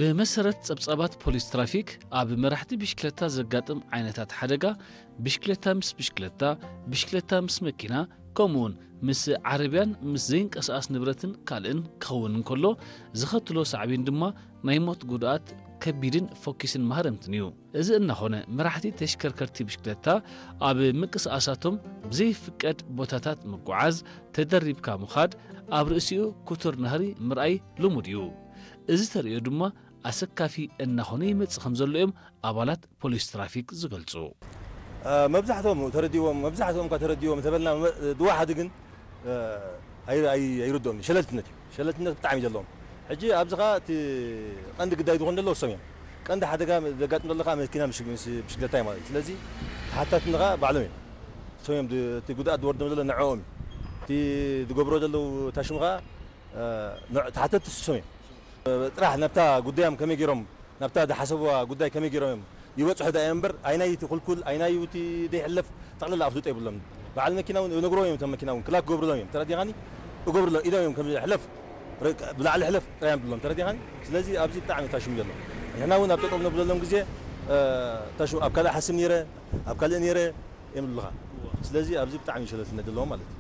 ብመሰረት ጸብጻባት ፖሊስ ትራፊክ፣ ኣብ መራሕቲ ብሽክለታ ዘጋጥም ዓይነታት ሓደጋ፣ ብሽክለታ ምስ ብሽክለታ፣ ብሽክለታ ምስ መኪና፣ ከምኡውን ምስ ዓረብያን ምስ ዘይንቀሳቐስ ንብረትን ካልእን ክኸውን እንከሎ፣ ዝኸትሎ ሳዕቤን ድማ ናይ ሞት ጉድኣት ከቢድን ፎኪስን ማህረምትን እዩ። እዚ እናኾነ፣ መራሕቲ ተሽከርከርቲ ብሽክለታ ኣብ ምንቅስቓሳቶም ብዘይፍቀድ ቦታታት ምጉዓዝ፣ ተደሪብካ ምኻድ፣ ኣብ ርእሲኡ ክቱር ናህሪ ምርኣይ ልሙድ እዩ። እዚ ተርእዮ ድማ ኣሰካፊ እናኾነ ይመጽእ ከም ዘሎ እዮም ኣባላት ፖሊስ ትራፊክ ዝገልጹ። መብዛሕትኦም ተረዲዎም፣ መብዛሕትኦም እኳ ተረዲዎም እንተበልና፣ ድዋ ሓደ ግን ኣይርድኦም እዩ። ሸለልትነት እዩ። ሸለልትነት ብጣዕሚ እዩ ዘለዎም። ሕጂ ኣብዚ ኸዓ እቲ ቀንዲ ግዳይ ዝኾን ዘለዎ እሶም እዮም። ቀንዲ ሓደጋ ዘጋጥም ዘሎ ከዓ መኪና ምስ ብሽክለታ እዩ ማለት እዩ። ስለዚ ተሓታትነት ከዓ ባዕሎም እዮም። እሶም እዮም እቲ ጉድኣት ዝወርዶም ዘሎ ንዕኦም እዩ። እቲ ዝገብሮ ዘለዉ ታሽሙ ከዓ ተሓተትቲ እሶም እዮም። ጥራሕ ናብታ ጉዳዮም ከመይ ገይሮም ናብታ ዝሓሰብዋ ጉዳይ ከመይ ገይሮም እዮም ይበፅሑ ዳ እዮም እምበር ኣይናይ እቲ ኩልኩል ኣይናይ እቲ ዘይሕለፍ ጠቕላላ ኣፍልጦ የብሎም። በዓል መኪና እውን ነግሮም እዮም። እቶም መኪና እውን ክላክ ክገብሩሎም እዮም። ተረዲኻኒ? እገብሩሎም ኢዶም እዮም ከም ሕለፍ ብላዕሊ ሕለፍ ጥራይ እዮም ብሎም። ተረዲኻኒ? ስለዚ ኣብዚ ብጣዕሚ ታሽሙ ዘሎ። ንሕና እውን ኣብ ጠጠው ነብለሎም ግዜ ታሽሙ ኣብ ካልእ ሓስብ ነይረ ኣብ ካልእ ነይረ እዮም ዝብሉኻ። ስለዚ ኣብዚ ብጣዕሚ ሸለልትነት ዘለዎም ማለት እዩ።